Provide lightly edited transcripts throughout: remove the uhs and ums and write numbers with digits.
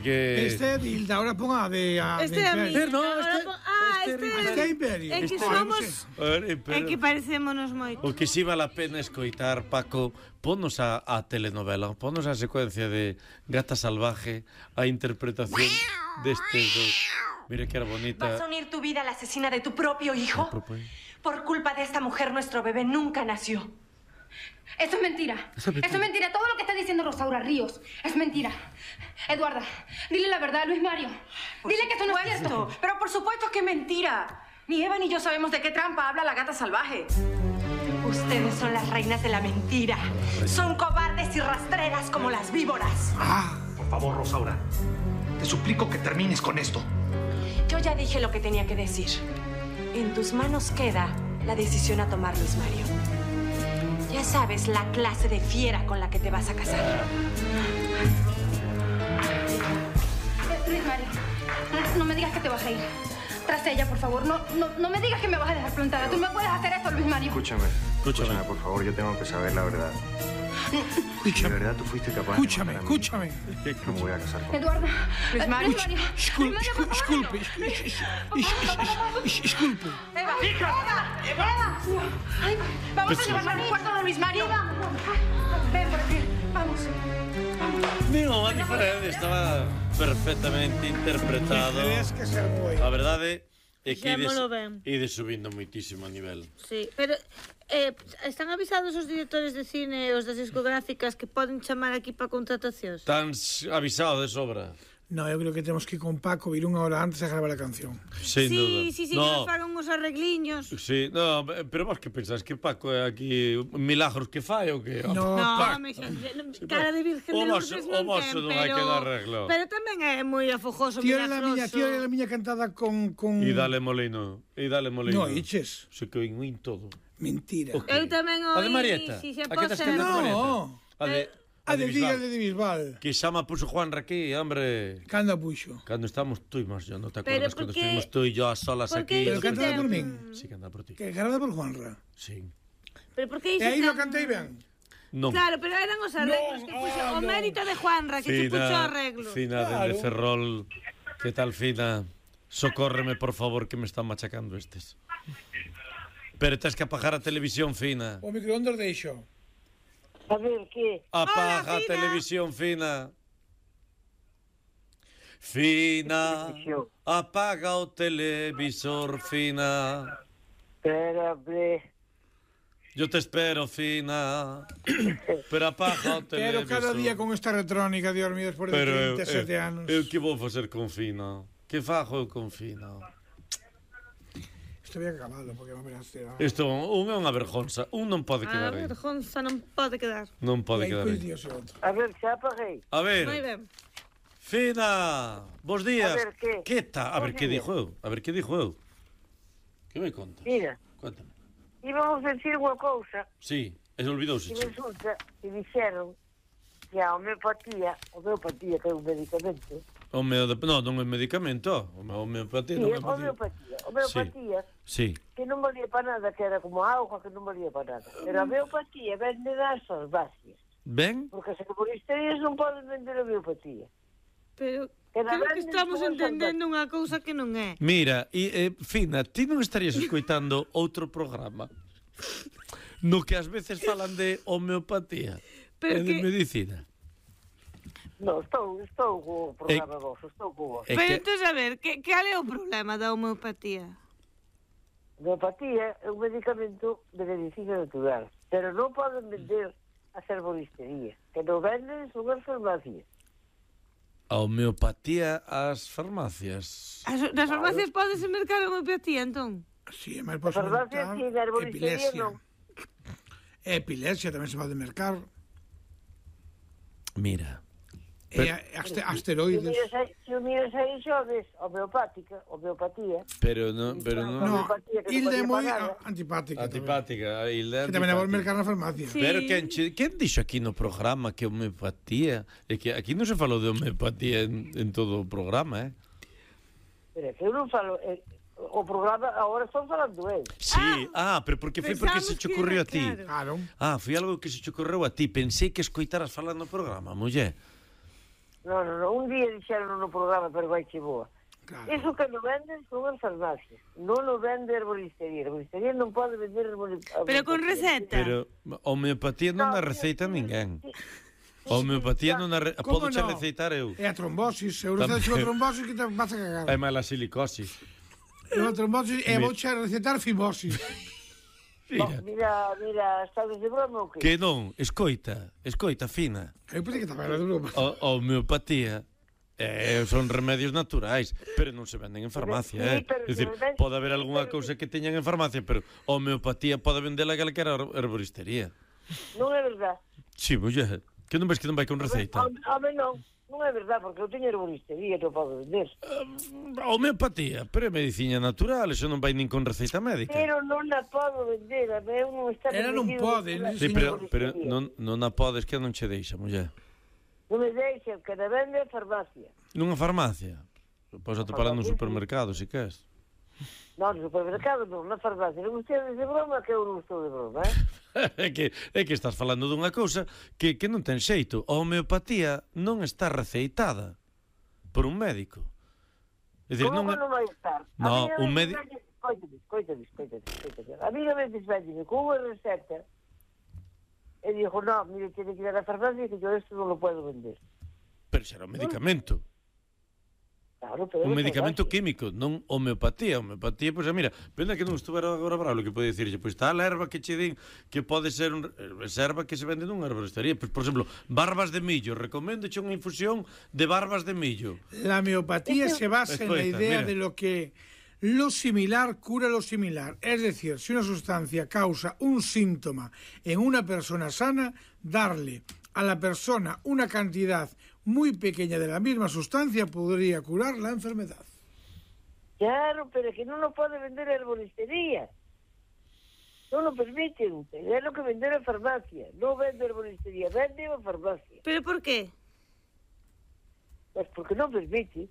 porque... Este é Dilda, ahora pon a de... Este é a mí. No, Este é Imperio. É que somos... É que parecémonos moito. O que si vale a pena escoitar, Paco, ponnos a telenovela, ponnos a secuencia de Gata Salvaje, a interpretación destes dos. Mira que era bonita. ¿Vas a unir tu vida a la asesina de tu propio hijo? Por culpa de esta mujer, nuestro bebé nunca nació. Eso es mentira. Eso es mentira. Todo lo que está diciendo Rosaura Ríos es mentira. Eduarda, dile la verdad a Luis Mario. Dile que esto no es cierto. Pero por supuesto que es mentira. Ni Eva ni yo sabemos de qué trampa habla la gata salvaje. Ustedes son las reinas de la mentira. Son cobardes y rastreras como las víboras. Por favor, Rosaura. Te suplico que termines con esto. Yo ya dije lo que tenía que decir. En tus manos queda la decisión a tomar, Luis Mario. Ya sabes la clase de fiera con la que te vas a casar. Luis Mario, no me digas que te vas a ir. Tras ella, por favor. No me digas que me vas a dejar plantada. Tú no me puedes hacer esto, Luis Mario. Escúchame, por favor, yo tengo que saber la verdad. De verdad tú fuiste capaz Escúchame. No me voy a casar con Eduarda. Luis Mario. Disculpe. Eva. Ay, vamos a llevarla al cuarto de Luis Mario. Ven por aquí. Vamos. Non, a diferente, estaba perfectamente interpretado. Tienes que ser moi. A verdade é que Fixémolo ben. ides subindo moitísimo a nivel. Sí, pero están avisados os directores de cine e os das discográficas que poden chamar aquí para contratacións? Tan avisado de sobra. No, eu creo que temos que ir con Paco, ir unha hora antes a gravar a canción. Sin duda. Sí, que nos fagan uns arregliños. Sí, no, pero vos que pensás que Paco é aquí milagros que fai ou que? No, cara de virgen de luces non ten, non hai que dar arreglo. pero tamén é moi afogoso, Tío milagroso. era a miña cantada con... E dale molino. No, iches. Se que oín todo. Mentira. Eu tamén oí... A de Marieta? Si se A que pode estás cantando ser... Marieta? A de Diga de Bisbal. Que xa me puso Juan aquí, hombre. Cando a puxo? Cando estamos tú e máis yo, non te Pero acordas? Cando porque- estuvimos tú e yo a solas aquí. Pero cantada por min. Sí, canta por ti. Que cantada por Juanra. Sí. Pero por que E aí lo cantei ben. Non. Claro, pero eran os arreglos que puxo, o mérito de Juanra, que se puxo arreglo. Fina, dende Ferrol. Que tal, Fina? Socórreme, por favor, que me están machacando estes. Pero tens que apagar a televisión, Fina. O microondas deixo. A ver, que? Apaga a Fina. televisión, Fina. Fina, apaga o televisor, Fina. Espera, hombre. Yo te espero, Fina. Pero apaga o televisor. Pero cada día con esta retrónica, Dios mío, despois de 37 anos. Eu que vou facer con Fina? Que fago eu con Fina? Isto había que acabarlo, porque me verás ter... Isto un é unha vergonza. Un non pode A quedar aí. vergonza non pode quedar. Non pode quedar aí. A ver, xa apaguei. A ver. Moi ben. Fina, bos días. A ver, que? Que tal? A ver, Bos que días. dixo eu? A ver, que dixo eu? Que me contas? Mira, Cuéntame. íbamos decir unha cousa Sí, e olvidouse. e resulta que dixeron que a homeopatía que é un medicamento, Non é medicamento. Homeopatía sí, non é homeopatía, Sí. que non valía para nada, que era como auga, que non valía para nada. Pero a homeopatía vende das farmacias, Ben? porque as herboristerías non poden vender homeopatía. Pero Que creo que venden estamos como entendendo unha cousa que non é. Mira, Fina, ti non estarías escoitando outro programa no que ás veces falan de homeopatía e Pero de que- medicina. Non, estou co programa vos, estou co vos. Pero entón, a ver, cal é o problema da homeopatía? A homeopatía é un medicamento de medicina natural, pero non poden vender as herboristerías, que non venden son as farmacias. A homeopatía ás farmacias. Nas farmacias podes mercar a homeopatía, entón? Sí, mas As podes farmacias mercar e a herboristería epilepsia. non. Epilepsia tamén se pode mercar. Mira. E asteroides. Se o miras aí xoves, homeopatía. Pero non... No, Hilda é moi antipática. Antipática, Hilda. Que tamén a vos mercar na farmacia. Pero quen dixo aquí no programa que homeopatía? É que aquí non se falou de homeopatía en todo o programa, Pero que eu non falo... o programa, agora están falando eu. Sí, pero porque foi porque se te ocurriu a ti. Claro. Foi algo que se te ocurreu a ti. Pensei que escoitaras falando no programa, muller. Non, un día dixeron no programa, pero vai che boa. Claro. Iso que non venden son as farmacias. Non o vende a herboristería. A herboristería non pode vender herboristería. Pero con receta. Pero a homeopatía non a receita ninguén. A homeopatía non a podo che receitar eu. É a trombosis. Eu receito a trombosis que te vas a cagar. É máis a silicosis. É a trombosis e vou che recetar fimosis. Mira, estás de broma ou que? Que non, escoita, fina. Eu pensei que estaba de broma. A homeopatía son remedios naturais, pero non se venden en farmacia, É dicir, pode haber algunha cousa que teñan en farmacia, pero a homeopatía pode vendela a calquera herboristería. Non é verdad. Si, muller, que non ves que non vai con receita? Home, non é verdad, porque eu teño herboristería que eu podo vender. A homeopatía, pero é medicina natural, eso non vai nin con receita médica. Pero non a podo vender, eu non está... Ela non pode. Sí, pero non a podes, que non che deixa, muller. Non me deixa, que a vende a farmacia. Nunha farmacia? Podes atopar nun supermercado, se queres. Non, no supermercado non, na farmacia. Non ustedes de broma, que eu non estou de broma, É que estás falando dunha cousa que non ten xeito. A homeopatía non está receitada por un médico. Como non vai estar? No, un médico... Coitade. A mí non me desvende con unha receta e dixo, no, mire, tiene que ir a la farmacia que yo esto non lo puedo vender. Pero será un medicamento. Claro, pero un medicamento químico, non homeopatía. Homeopatía, pois, mira, pena que non estuvera agora bravo, que pode dicirlle, pois está a erva que che din que pode ser erva que se vende nunha herboristería. Pois, por exemplo, barbas de millo, recoméndoche unha infusión de barbas de millo. La homeopatía se basa en la idea de lo que lo similar cura lo similar. Es decir, si una sustancia causa un síntoma en una persona sana, darle a la persona una cantidad muy pequeña de la misma sustancia podría curar la enfermedad. Claro, pero que non lo pode vender a herboristería. Non lo permiten. É lo que vender a farmacia. Non vende a herboristería, vende a farmacia. ¿Pero por qué? Pues porque non permite.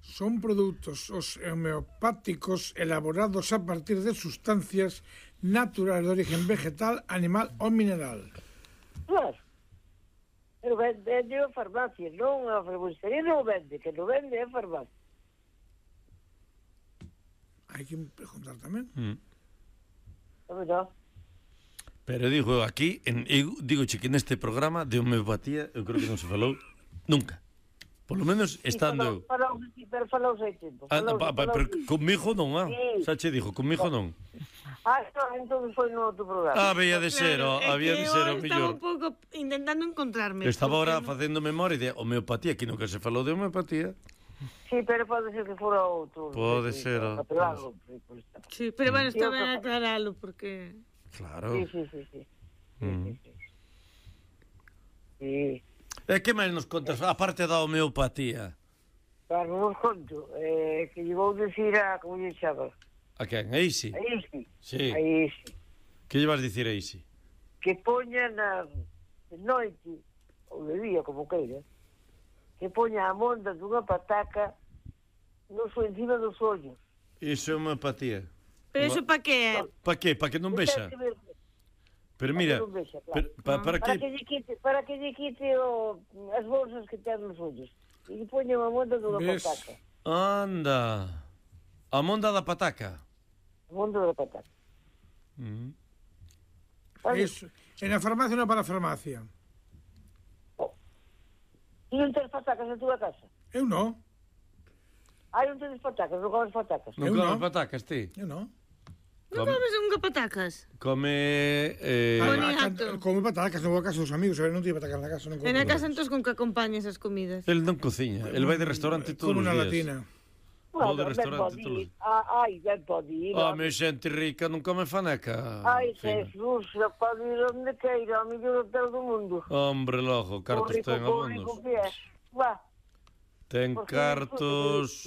Son productos homeopáticos elaborados a partir de sustancias naturales de origen vegetal, animal o mineral. Claro. Pero vende a farmacia, non a herboristería non vende, que non vende a farmacia. Hai que preguntar tamén. No. Pero digo, aquí, digoche que neste programa de homeopatía, eu creo que non se falou nunca. Por lo menos estando eu. Pero falouse hai tempo. Pero conmigo non, xa che dixo, conmigo non. Entón foi no outro programa. Había de ser, había de ser o mellor. Estaba un pouco intentando encontrarme. Estaba ahora facendo memoria de homeopatía, que nunca se falou de homeopatía. Sí, pero pode ser que fora outro. Pode ser. Sí, pero bueno, está ben aclaralo, porque... Claro. Sí. Sí. E que máis nos contas, a parte da homeopatía? Claro, non conto. Que lle vou dicir a... Como lle chama? A quen? A Isi? A Isi. Sí. A Isi. Que lle vas dicir a Isi? Que poña na noite, ou de día, como queira, que poña a monda dunha pataca no encima dos ollos. Iso é homeopatía. Pero iso pa que é? Pa que? Pa que non vexa? Pero mira, para que lle quite as bolsas que ten nos ollos. E lle poña a monda dunha pataca. Anda. A monda da pataca. A monda da pataca. Eso. En a farmacia ou para a farmacia? E non tens patacas na túa casa? Eu non. Non tens patacas, non comes patacas? Non comes patacas, ti? Eu non. Non comes nunca patacas? Come... Boniato. Come patacas, non vou a casa dos amigos, non tiene patacas na casa. En a casa entón con que acompañas as comidas? El non cociña, el vai de restaurante todos os días. Como na latina. Vou de restaurante todos os días. Ben pode ir. Me xente rica non come faneca. Jesús, pode ir onde queira, ao mellor hotel do mundo. Hombre, logo, cartos ten abondos. Ten cartos...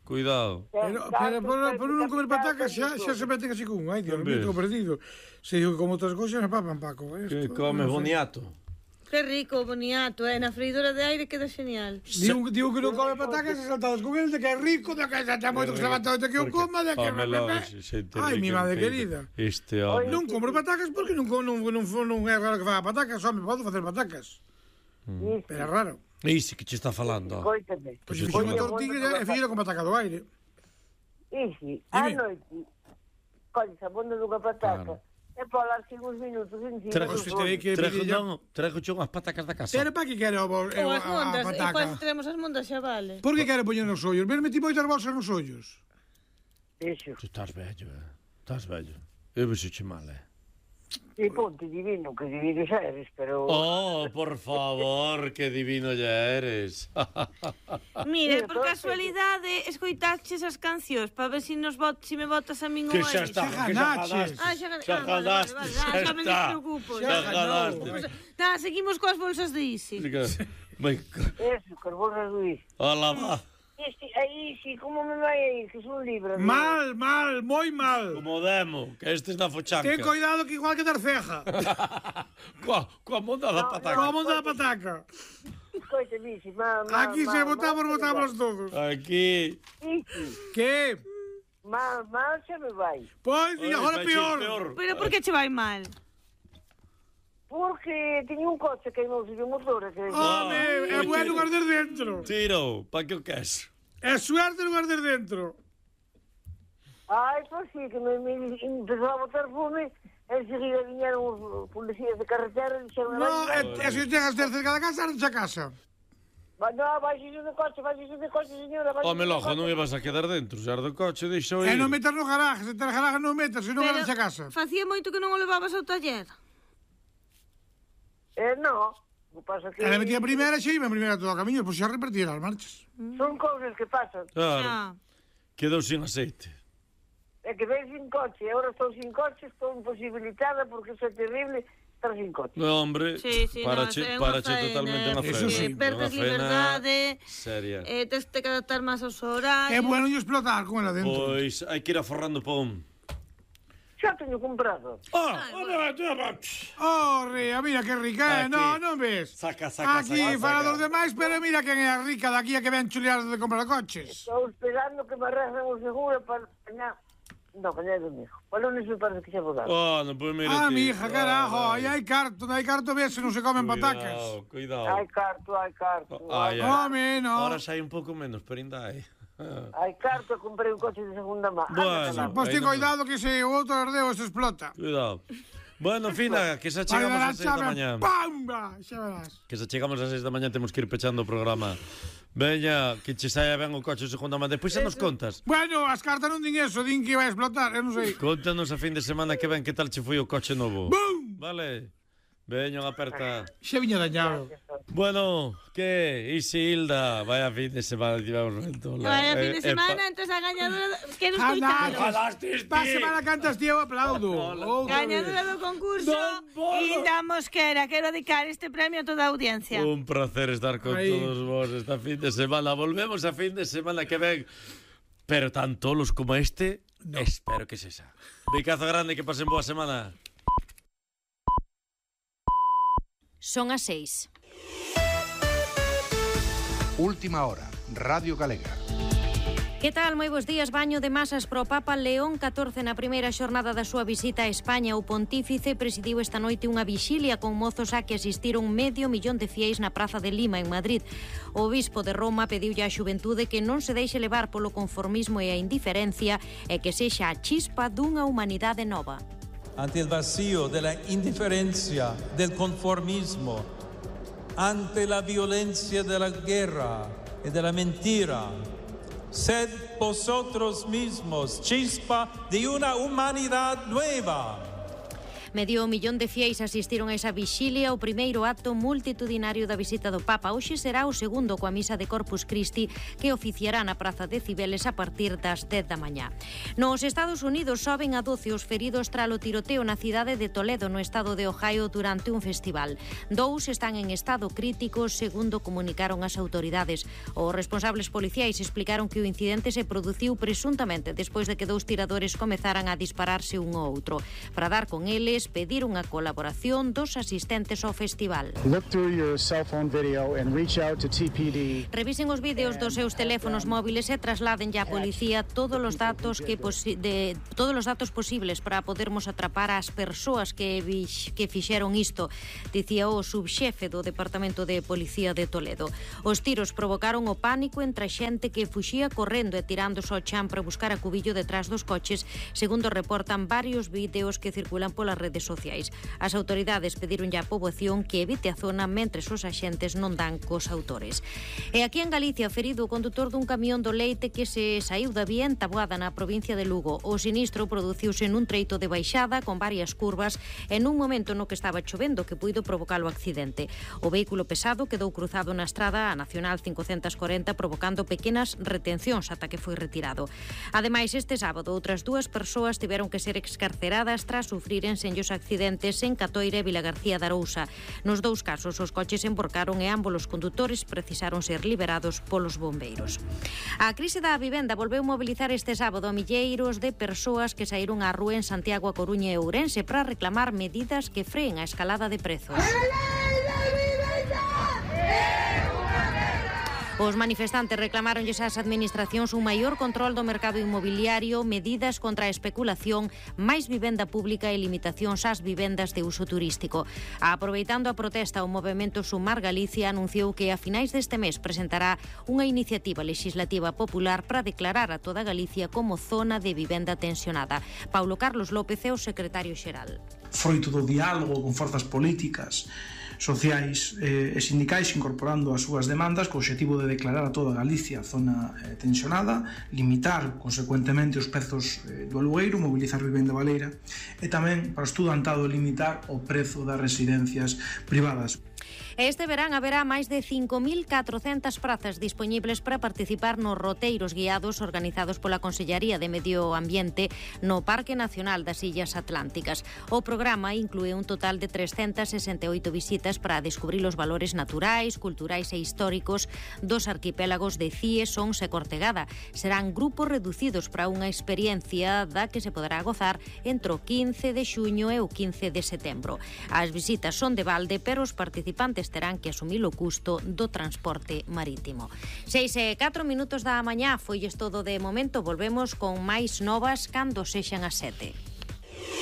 Cuidado. Pero por non comer patacas xa se meten así con ai, Dios mío, estou perdido. Se digo que como outras cousas me papan, Paco. Que come boniato. Que rico, boniato, na freidora de aire queda genial. Digo que non come patacas e saltados con el de que é rico, de que xa moito que se levanta de que eu coma, de que... Ai, mi madre querida. Non como patacas porque non é raro que faga patacas, home, podo facer patacas. Pero é raro. Isi, que che está falando? Coítame. Pois fixo unha tortilla e fixo con pataca do aire. Isi, a noite, colles a bunda dunha pataca e polas 5 minutos encima do forno. Trago unhas patacas da casa. Pero para que quere a Ou as mondas, e pataca? quando teremos as mondas xa vale. Por que quere poñer nos ollos? Ves metí moitas bolsas nos ollos. Eso. Tu estás vello, estás vello. Eu vexoche mal, E ponte divino, que divino xa eres, pero... Oh, por favor, que divino ya eres. Mire, por casualidade, escoitaches as cancións para ver se me votas a min ou Que a xa eles. está, que xa ganaste. Xa ganaste, xa me despreocupo. Xa ganaste. Seguimos coas bolsas de Isi. Eso, carbonas do Isi. Hola, va. Aí, sí, como me vai a ir? Que son libres. Mal, moi mal. Como demo, que estes na fochanca. Ten cuidado que igual que dar ceja. Coa monda da pataca. Coa monda da pataca. Coite, Isi, mal. Aquí se votamos todos. Aquí. Isi, Que? mal xa me vai. Pois, e agora peor. Pero por que che vai mal? Porque tiña un coche que non se o motor. Home, é bueno guardar dentro. Tiro, pa que o queso. É suerte no guardar dentro. Ai, pois sí, que me empezou a botar fome. Enseguida viñeron os policías de carretera e dixeron... No, e se chegas cerca da casa, arde a casa. No, vaixese de coche, señora. Home, logo, non ibas a quedar dentro. Se arde o coche, deixou E ir. non metas no garaje, se ter garaje non metas, se non arde a casa. Facía moito que non o levabas ao taller. No, o que pasa que... Ela metía a primeira, xe iba a primeira todo o camiño, pois xa repartía as marchas. Son cousas que pasan. Claro, quedou sin aceite. É que ven sin coche, e agora estou sin coche, estou imposibilitada porque iso é terrible estar sin coche. No, hombre, parache totalmente unha Eso sí. faena. Perdes liberdade, Seria. tes que adaptar máis aos horarios. É bueno yo explotar con ela dentro. Pois, hai que ir aforrando pom. Xa teño comprado. Rea, mira que rica, non ves? Saca. Aquí, para dos demais, pero mira quen é a rica daqui a que ven chulear de comprar coches. Estou esperando que me arreglen o seguro para... No, cañá é domingo. Para lunes me parece que xa vou dar. Non, pois mira ti. Mi hija, carajo, aí hai carto ver se non se comen patacas. Cuidado. Hai carto. Home, no. Ahora xa hai un pouco menos, pero ainda hai. Hai carto, comprei un coche de segunda mano. Bueno. Pois ten cuidado que se o outro ardeo se explota. Cuidado. Bueno, Fina, que xa chegamos ás 6 da mañá. ¡Pamba! Xa verás. Que xa chegamos ás 6 da mañá, temos que ir pechando o programa. Veña, que che saia ben o coche de segunda mano. Depois xa nos contas. Bueno, as cartas non din eso, din que vai a explotar, eu non sei. Contanos a fin de semana que ven que tal che foi o coche novo. ¡Bum! Vale. Veña, aperta. Xa viña dañado. Bueno, que? Isilda, vaya fin de semana tivemos ventola. Vaya fin de semana, entonces a gañadora... Que nos coitaron. Pa semana cantas tío, aplaudo. Gañadora do concurso Hilda Mosquera. Quero dedicar este premio a toda a audiencia. Un placer estar con todos vos esta fin de semana. Volvemos a fin de semana que ven. Pero tan tolos como este, espero que sexa. Bicazo grande, que pasen boa semana. Son as 6. Última hora, Radio Galega. Que tal? Moi bons días. Baño de masas pro Papa León XIV na primeira xornada da súa visita a España. O pontífice presidiu esta noite unha vixilia con mozos a que asistiron 500.000 de fieis na Praza de Lima, en Madrid. O obispo de Roma pediulle á xuventude que non se deixe levar polo conformismo e a indiferencia e que sexa a chispa dunha humanidade nova. Ante el vacío de la indiferencia, del conformismo, ante la violencia de la guerra y de la mentira, sed vosotros mismos chispa de una humanidad nueva. 500.000 de fieis asistiron a esa vixilia, o primeiro acto multitudinario da visita do Papa. Hoxe será o segundo coa misa de Corpus Christi que oficiará na Praza de Cibeles a partir das 10 da mañá. Nos Estados Unidos soben a 12 os feridos tralo tiroteo na cidade de Toledo, no estado de Ohio, durante un festival. 2 están en estado crítico, segundo comunicaron as autoridades. Os responsables policiais explicaron que o incidente se produciu presuntamente despois de que 2 tiradores comezaran a dispararse un ao outro. Para dar con eles, autoridades pediron a colaboración dos asistentes ao festival. Look through your cell phone video and reach out to TPD. Revisen os vídeos dos seus teléfonos móviles e trasladen á policía todos os datos posibles para podermos atrapar as persoas que fixeron isto, dicía o subxefe do Departamento de Policía de Toledo. Os tiros provocaron o pánico entre a xente que fuxía correndo e tirándose ao chan para buscar a cubillo detrás dos coches, segundo reportan varios vídeos que circulan polas redes sociais. As autoridades pediron á poboación que evite a zona mentres os axentes non dan cos autores. E aquí en Galicia, ferido o condutor dun camión do leite que se saiu da vía en Taboada, na provincia de Lugo. O sinistro produciuse nun treito de baixada con varias curvas e nun momento no que estaba chovendo que puido provocar o accidente. O vehículo pesado quedou cruzado na estrada a Nacional 540 provocando pequenas retencións ata que foi retirado. Ademais, este sábado, outras 2 persoas tiveron que ser excarceradas tras sufriren senllos accidentes en Catoira e Vilagarcía de Arousa. Nos 2 casos, os coches emborcaron e ambos os condutores precisaron ser liberados polos bombeiros. A crise da vivenda volveu mobilizar este sábado a milleiros de persoas que saíron á rúa en Santiago, A Coruña e Ourense para reclamar medidas que freen a escalada de prezos. Os manifestantes reclamaronlles ás administracións un maior control do mercado inmobiliario, medidas contra a especulación, máis vivenda pública e limitacións ás vivendas de uso turístico. Aproveitando a protesta, o movemento Sumar Galicia anunciou que a finais deste mes presentará unha iniciativa legislativa popular para declarar a toda Galicia como zona de vivenda tensionada. Paulo Carlos López é o secretario xeral. Froito do diálogo con forzas políticas, sociais e sindicais incorporando as súas demandas co obxectivo de declarar a toda Galicia zona tensionada, limitar consecuentemente os prezos do alugueiro, mobilizar vivenda baleira e tamén para o estudantado limitar o prezo das residencias privadas. Este verán haberá máis de 5.400 prazas dispoñibles para participar nos roteiros guiados organizados pola Consellaría de Medio Ambiente no Parque Nacional das Illas Atlánticas. O programa inclúe un total de 368 visitas para descubrir os valores naturais, culturais e históricos dos arquipélagos de Cie, Sons e Cortegada. Serán grupos reducidos para unha experiencia da que se poderá gozar entre o 15 de xuño e o 15 de setembro. As visitas son de balde, pero os participantes terán que asumir o custo do transporte marítimo. 6:04 da mañá, foi todo de momento. Volvemos con máis novas cando sexan as 7.